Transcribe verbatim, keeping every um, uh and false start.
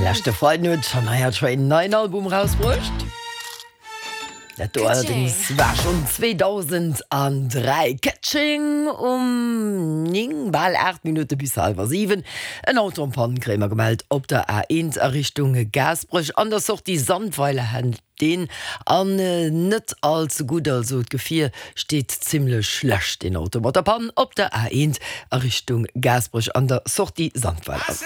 Leschte Freiden huet d'Shania Twain en neien Album rausbruecht. Dat do allerdéngs war schonn zweedausendandräi. Ka-Ching um néng, bal aacht Minutte bis hallwer siwen. En Auto en panne kréie mer gemellt op der A eent a Richtung Gaasperech an der Sortie Sandweiler hält deen an net all ze gutt, also d'Gefier steet zimmlech schlecht, deen Auto mat der Pann op der A eent a Richtung Gaasperech an der Sortie Sandweiler.